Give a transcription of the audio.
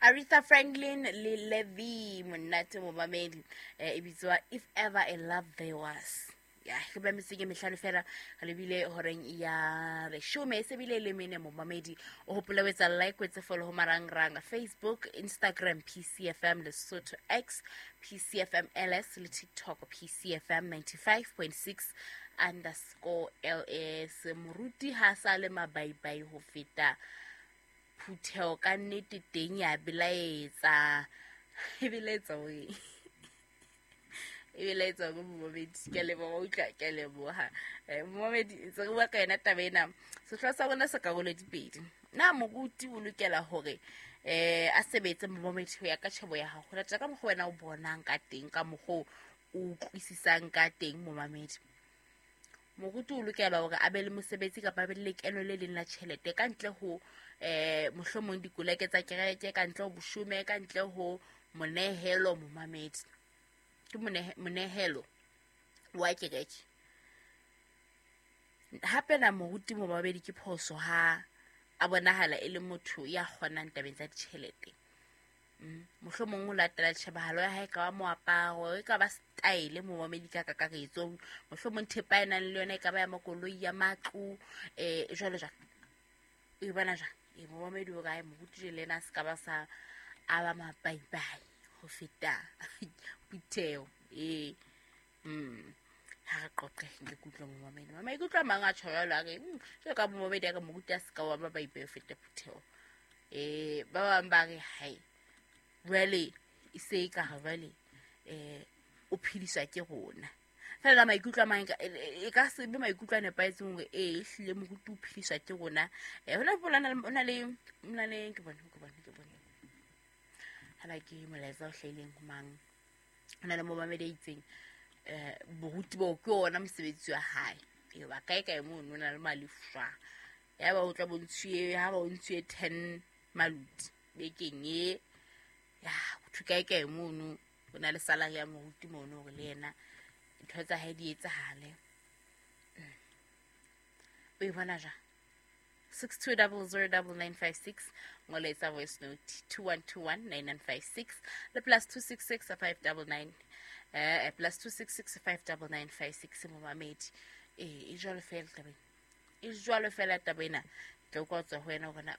Aretha Franklin le Levy monate momamedi, e bitswa If Ever a Love There Was. Ya re ba metseng e mehlano fela re lebile horeng ya leshome, e sebile le mene. Momamedi, o hopole o etsa like, o etse follow ho marangrang: Facebook, Instagram PCFM Lesotho, X PCFM LS, le TikTok PCFM 95.6_LS. Moruti ha sa le mabaibai ho feta phutheho, ka nnete teng ya belaetsa, e belaetsa o e belaetsa ko momamedi. Ke a leboga, utlwa, ke a leboga. Momamedi, ntse re bua ka yona taba ena. Sehlooho sa rona se karolo dipedi: na moruti o lokela hore a sebetse? Momamedi, ho ya ka tjhebo ya gago, latela ka mokgwa wena o bonang ka teng, ka mokgwa o utlwisisang ka teng, momamedi, moruti o lokela hore a be le mosebetsi kapa a be le lekeno le leng la tjhelete ka ntle ho mohlomong dikoleke tsa kereke, ka ntle ho boshome, ka ntle ho monehelo? Momamedi, ke monehelo wa kereke. Hape na moruti, momamedi, ke phoso ha a bonahala e le motho ya kgonang tabeng tsa ditjhelete? Mohlomong o latela tjhebahalo ya hae, ka ba moaparo, e ka ba style, momamedi, ka kakaretso, mohlomong thepa e nang le yona, e ka ba ya makoloi, ya matlo, jwalo jwalo. E bona jwang e, momamedi, o kae moruti le ena a se ka ba sa a ba mabaibai ho feta phutheho? Ee, ha re qoqe, nke kutlwe momamedi. Maikutlo a mang a tjho jwalo, a re jwalo ka momamedi a re moruti a se ka wa mabaibai ho feta phutheho. Ba bang ba re hai, jwale e se e ka re jwale o phediswa ke rona fela. Maikutlo a mang e ka se be maikutlo a nepahetseng hore ee, ehlile moruti o phediswa ke rona. Hona le ke bone hala ke molaetsa o hlahileng ho mang. Ho na le momamedi a itseng, boruti boo ke ona mosebetsi wa hae. Ee, ba kae kae mono, o na le malefwa ya ba o tla bontshuwe ha ba o ntshuwe 10 maluti bekeng e ya ho kae kae mono. O na le salary ya moruti mono hore le yena ntho tsa hae di etsahale. O e bona jwang? 62009956, ngoletsa voice note 21219956 le +266 599, +266 59956. Momamedi, ee, e jwalo fela tabeng, e jwalo fela taba ena. Tla utlwa tswa ho wena hore na